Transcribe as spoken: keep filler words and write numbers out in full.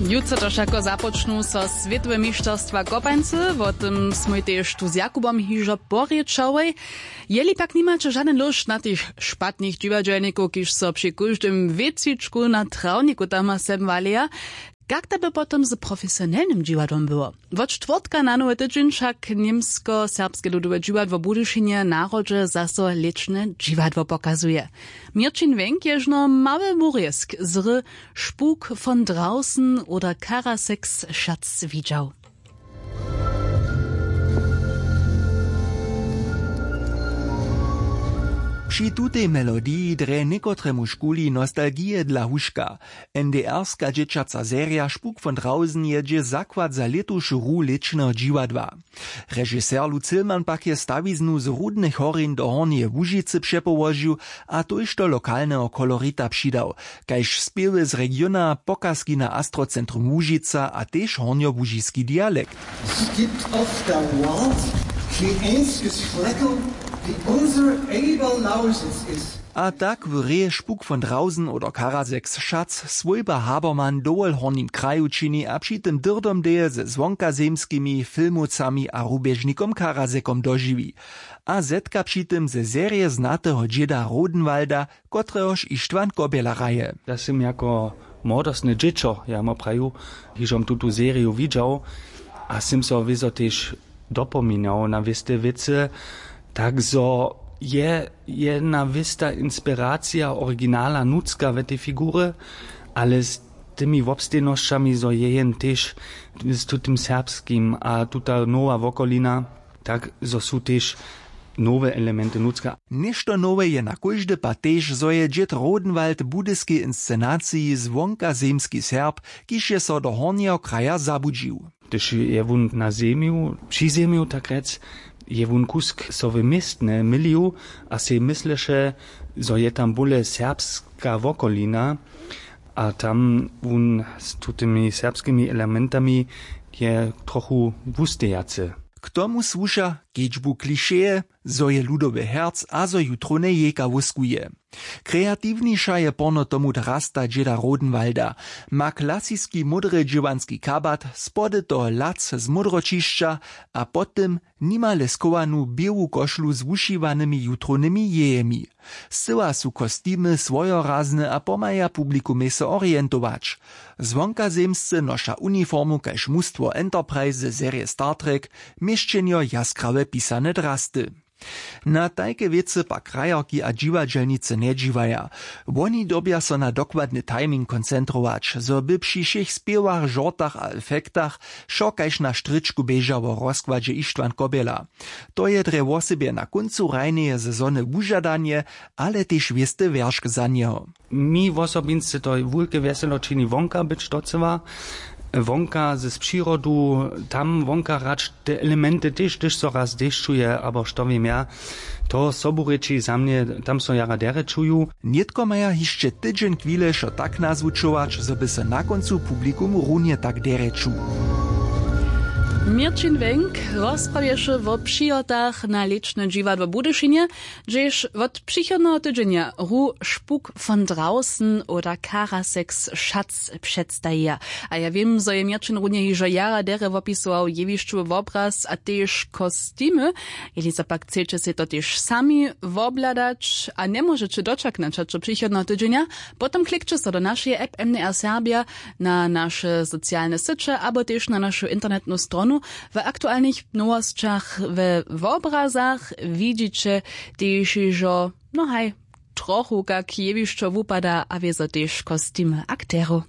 Jutře to wšako započnu so swětowe mišćerstwa kopańcy, wo tym smój tež tu z Jakubom hižo porěčałoj. Jeli pak nimaće žadyn lóšt na tych špatnych dźiwadźelnikow, kiž so při kóždym wětřičku na trawniku tam a sem waleja, kak da by potom z profesionelnym dźiwadłom było? Wot štwórtka na nowy tydźeń wšak němsko-serbske ludowe dźiwadło w budyšinje na hrodźe zaso lěčne dźiwadło pokazuje. Měrćin wenk je žno mały wurězk z hry Spuk von Draußen oder Karaseks Schatz widźał. Při tutej melodiji drje někotremuž kuli nostalgije dla huška. N D R-ska dźěćaca serija Spuk von Draußen je dźě zakład za lětušu hru lěčneho dźiwadła. Režiser Lutz Hillmann pak je stawiznu z Rudnych horjeń do Hornjeje Łužicy přepołožił a tójšto lokalneho kolorita přidał, kaž spěwy z regiona, pokazki na Astrocentrum Łužica a tež hornjołužiski dialekt. Skipt off the world, the einzige Flecken, die unser Eberlausis ist. A tak w reje Spuk von Draußen oder Karaseks Schatz swójba Habermann dowol w hornim kraju čini a při tym dyrdomdeje ze zwonkazemskimi filmowcami a rubježnikom Karasekom dožiwi. A zetka při tym ze serje znateho dźěda Rodenwalda, kotrehož Ištwan Kobjela hraje. Ja sym jako młodostne dźěćo, ja mu praju, hižom tutu seriju widźał a sym so wězo tež dopominał na wěste wěcy, tak zo je jedna wěsta inspiracija originala nutřka w tej figurje, ale z tymi wobstejnosćami, zo je jen tež z tutym serbskim a tuta nowa wokolina, tak zo su tež nowe elementy nutřka. Něšto nowe je na kóždy pad tež, zo je dźěd Rodenwald w budyskej inscenaciji zwonkazemski Serb, kiž je so do hornjeho kraja zabudźił. Hdyž je wón na zemju, při zemju tak rjec, je wón kusk so w městnje mylił a sej mysleše, zo je tam bóle serbska wokolina a tam wón z tutymi serbskimi elementami je trochu wustejacy. K tomu słuša kedźbu klišeje, zo je ludowy herc a zo jutrowne jejka wóskuje. Kreatiwniša je porno tomu drasta dźěda Rodenwalda. Ma klasiski módry dźěłanski kabat, spody toho lac z módroćišća a po tym nimale schowanu běłu košlu z wušiwanymi jutrownymi jejemi. Scyła su kostimy swojorazne a pomhaja publikumej so orientować. Zwonkazemsce noša uniformu kaž mustwo Enterprise ze serije Star Trek, měšćenjo jaskrawe pisane drasty. Na tajke wěcy pak krajerki a dźiwadźelnicy njedźiwaja. Woni dyrbja so na dokładny timing koncentrować, zo by při wšěch spěwach, žortach a efektach wšo kaž na štrěčku běžało, w rozkładźe Ištwan Kobjela. To je drje wosebje na kóncu hrajneje sezony wužadanje, ale tež wěsty wjeršk za njeho. Mi wosobinsce to wulke wjeselo čini wonka być docyła, wonka z přirodu, tam wonka hrać te elementy tež, hdyž so raz dešćuje abo što wěm ja, to sobu rěči za mnje, tam so jara derje čuju. Nětko maja hišće tydźeń chwile wšo tak nazwučować, zo by so na kóncu publikum runje tak derje čuł. Měrćin Wenk rozprawješe wo přihotach na lěčne dźiwadło w Budyšinje, hdźež wot přichodneho tydźenja hru Spuk von Draußen oder Karaseks Schatz předstajija. A ja wěm, zo je Měrćin runje hižo jara derje wopisował jewišćowy wobraz a tež kostimy. Jeli zo pak chceće sej to tež sami wobhladać a njemóžeće dočaknąć hač do přichodneho tydźenja, potom klikće so do našeje app M D R Serbja, na naše socialne syće abo tež na našu internetnu stronu. W aktualnych nowosćach we wobrazach widźiće tež hižo, no haj, trochu kak jewišćo wupada a wězo tež kostimy akterow.